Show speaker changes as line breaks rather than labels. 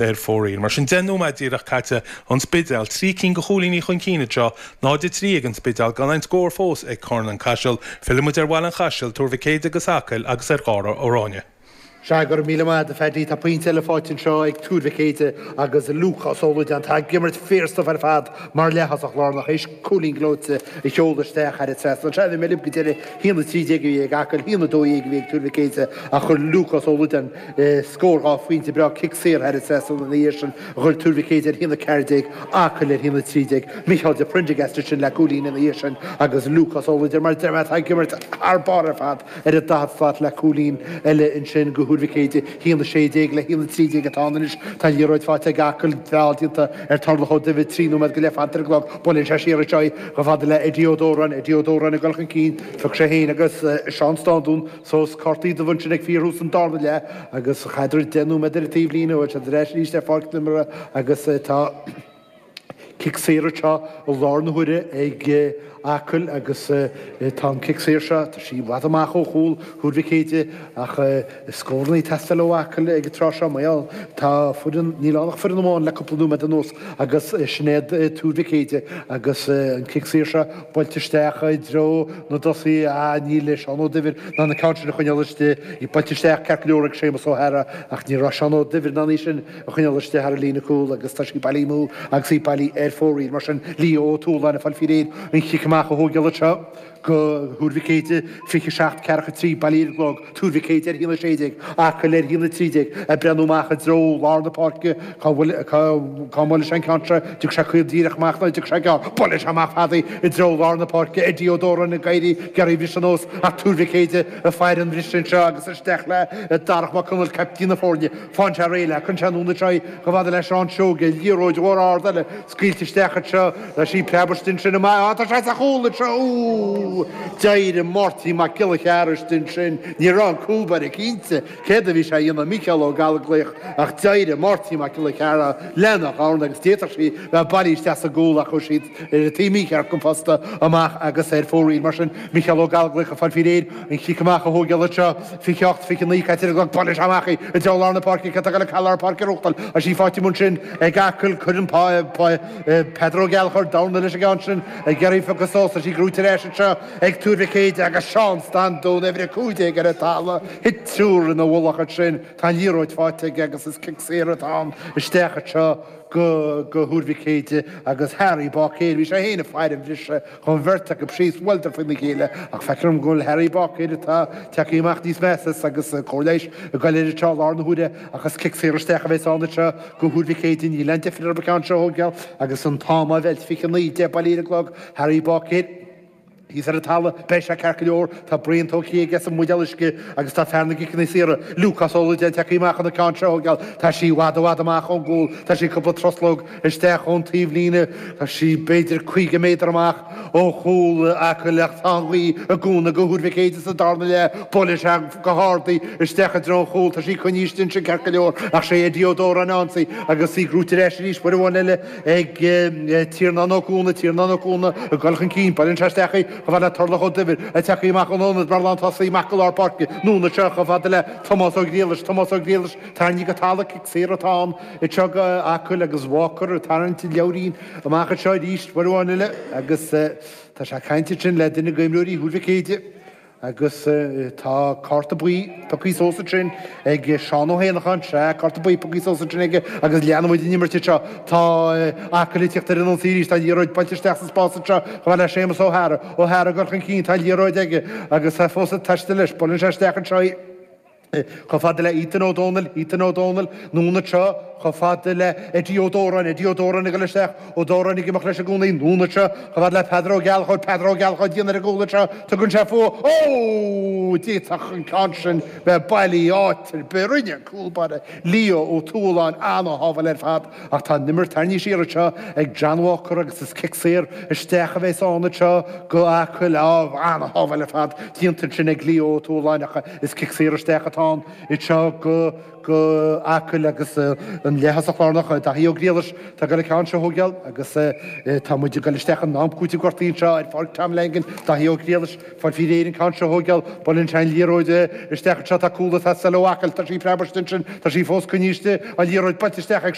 Ar fóraoil. Mar sin, 10 nóiméad díreach caite, An Spidéal, 3 cinn de chúilíní chun cinn anseo, 0-3 ag An Spidéal, gan aon scór fós ag Carn an Chaisil. Fillfidh muid ar Bhaile an Chaisil, Tuar Mhic Éadaigh agus Acaill agus ar Dháire Ó Ráinne.
Sea, go raibh míle maith a't a Phaddy. Tá pointe eile faighte anseo ag Tuar Mhic Éadaigh agus Lúcás Ó Loideáin. Tá ag imirt fíorstuif ar fad mar leath-thosach lárnach théis cúilín gleoite a sheoladh isteach thar an trasnán. Sea, bhí mé libh go deireadh, 1-13 a bhí ag Acaill, 1-12 a bhí ag Tuar Mhic Éadaigh ach chuir Lúcás Ó Loideáin Scór 2 phointe breá, cic saor thar an trasnán ina dhiaidh sin a chuir Tuar Mhic Éadaigh ar 1-14, Acaill ar 1-13. Micheál de Prendergast ansin le cúilín ina dhiaidh sin agus Lúcás Ó Loideáin mar a deir mé atá ag imirt thar barr ar fad ar an daichead slat le cúilín eile ansin do Thuar Mhic Éadaigh. 1-16 le 1-13 atá ann anois. Tá an liathróid faighte ag Acaill, feall déanta ar Thurlough Ó Duibhir, 3 nóiméad go leith fanta ar an gclog. Buaileann sé siar anseo í chomh fada le Eddie Ó Dóráin. Eddie Ó Dóráin ag dul chun cinn. Phioc sé féin agus Seán Standún. Sos cártaí dubha ansin ag fíorthús an darna leath agus chaithfear 10 nóiméad ar an taobhlíne, bhfuil siad ar ais arís ar pháirc na himeartha agus tá cic saor anseo i lár na huaire ag Acaill agus tá an cic saor seo, tá sí i bhfad amach ó chúl Thuar Mhic Éadaigh ach scóranna ag teastáil ó Acaill ag an tráth seo mar gheall tá foireann, níl ann ach foireann amháin le cúpla nóiméad anuas agus sin iad Tuar Mhic Éadaigh agus an cic saor seo Buailte isteach i dtreo na dtosaithe, ah níl Seán Ó Duibhir in ann an ceann sin a choinneáil istigh. Í buailte isteach ceart go leor ag Séamus Ó hEadhra ach ní raibh Seán Ó Duibhir in ann í sin a choinneáil istigh thar an líne cúl agus tá sí bailithe amú agus í bailithe ar fóraoil. Mar sin, Leo Ó Tualáin ag fáil faoi réir an chic amach a thógáil anseo do Thuar Mhic Éadaigh, 27, ceathracha 3, bailithe ar an gclog, Tuar Mhic Éadaigh ar 1-16, Acaill ar 1-13, ag breathnú amach i dtreo lár na páirce, cá bhfuil, cá, cá mbuailfidh sé an ceann seo, dtiocfaidh sé caol díreach amach nó dtiocfaidh sé gearr, buaileann sé amach fada í i dtreo lár na páirce, Eddie Ó Dóráin ag éirí, ag iarraidh briseadh anuas, ach Tuar Mhic Éadaigh ag faire an bhriseadh anseo agus isteach le Darach Mac Conaill, caiptín na foirne. Faigheann sé réidh léi, cuireann sé anonn anseo í chomh fada le Seán Seoige, liathróid mhór ard eile scaoilte isteach anseo, tá sí preabtha ansin amach, á tá sé sa chúl anseo, úúú! D'éirigh Máirtín Mac Giolla Chearra istigh ansin, ní raibh an cúl báire cinnte céard a bhí sé a dhéanamh, Mícheál Ó Gallchóir, ach d'éirigh Máirtín Mac Giolla Chearra lena dhorn agus d'fhéadfadh sí bheith bailithe isteach sa gcúl ach chuaigh siad ar an taobh mícheart den phosta amach agus ar fóraoil. Mar sin, Mícheál Ó Gallchóir ag fáil faoi réir an chic amach a thógáil anseo, 28, 29 caite ar an gclog, buaileann sé amach í i dtreo lár na páirce, cé atá ag dul lár páirce a ghnóthachtáil? Tá sí faighte amuigh ansin ag Acaill, cuireann Peadar Ó Gallchóir dorn leis an gceann sin ag iarraidh a phiocadh suas, tá sí gnóite ar ais anseo ag Tuar Mhic Éadaigh agus Seán Standún, uimhir 15 ar an talamh, thit triúr ina mhullach ansin, tá an liathróid faighte aige agus is cic saor atá ann isteach anseo go Tuar Mhic Éadaigh agus Harry Báicéir, bhí sé féin ag faire an bhriseadh, Chuaigh an bheirt acu síos, bhuaileadar faoina chéile, ach feictear dom go bhfuil Harry Báicéir atá tagtha amach níos measa agus cóir leighis ag goil air anseo i lár na huaire ach is cic saor isteach a bheas ann anseo do Thuar Mhic Éadaigh. Níl aon deifir orthu an ceann seo a thógáil agus an t-am á mheilt, 29, 10 bailithe ar an gclog, Harry Báicéir. Thíos ar an talamh, beidh sé ceart go leor, tá braon tógtha aige as an mbuidéal uisce agus tá fear na gciceanna saora, Lúcás Ó Loideáin, tagtha amach chun an ceann seo a thógáil. Tá sí i bhfad i bhfad amach ón gcúl, tá sí cúpla truslóg isteach ón taobhlíne. Tá sí b'fhéidir 50 méadar amach ó chúl Acaill ach tá an ghaoth ag cúnamh do Thuar Mhic Éadaigh sa darna leath. Buaileann sé go hard í isteach i dtreo an chúil. Tá sí coinnithe istigh ansin ceart go leor ach sé Eddie Ó Dóráin a ionsaí agus í gnóite ar ais arís uair amháin eile ag Tiarnán Ó Cuana. Tiarnán Ó Cuana ag dul chun cinn. Buaileann sé isteach í chomh fada le Turlough Ó Duibhir ag teacht amach ón ionad mar lántosaí amach go lár páirce. Anonn anseo chomh fada le Tomás Ó Griallais. Tomás Ó Griallais tarraingthe go talamh. Cic saor atá ann. Anseo do Acaill agus Walker ag tarraingt an leabhairín amach anseo arís uair amháin eile agus tá sé ag caint ansin le duine d'imreoirí Thuar Mhic Éadaigh agus tá cárta buí pioctha suas ansin ag Seán Ó hÉanacháin, sea, cárta buí pioctha suas ansin aige agus leanann muid an imirt anseo. Tá Acaill ag tíocht ar an ionsaí arís, tá an liathróid buailte isteach sa spás anseo chomh fada le Séamus Ó hEadhra, Ó hEadhra ag dul chun cinn, tá an liathróid aige agus tá fós ag taisteal leis, buaileann sé isteach anseo í. Chomh fada le Ethan Ó Dónaill, Ethan Ó Dónaill, anonn anseo, chomh fada le Eddie Ó Dóráin, Eddie Ó Dóráin ag dul isteach, Ó Dóráin ag imeacht leis i gcónaí, anonn anseo, chomh fada le Peadar Ó Gealchóid, Peadar Ó Gealchóid dian ar an gcúl anseo, tugann sé fúthu, ó! D'fhéadfadh an ceann sin bheith bailithe áit ar bith, rinne an cúl báire Leo Ó Tualáin ana-shábháil ar fad ach tá an imirt tarraingthe siar anseo ag John Walker agus is cic saor isteach a bheas ann anseo do Acaill, á, ana-shábháil ar fad déanta ansin ag Leo Ó Tualáin ach Is cic saor isteach atá. atá ann anseo go go Acaill agus an leath-thosach lárnach Daithí Ó Griallais atá ag dul an ceann seo a thógáil agus tá muid ag dul isteach in am cúitimh gortaithe anseo ar Pháirc Tom Langan. Daithí Ó Griallais ag fáil faoi réir an ceann seo a thógáil. Buaileann sé an liathróid isteach anseo. Tá cúl ag teastáil ó Acaill. Tá sí preabtha ansin. Tá sí fós coinnithe istigh. An liathróid buailte isteach ag.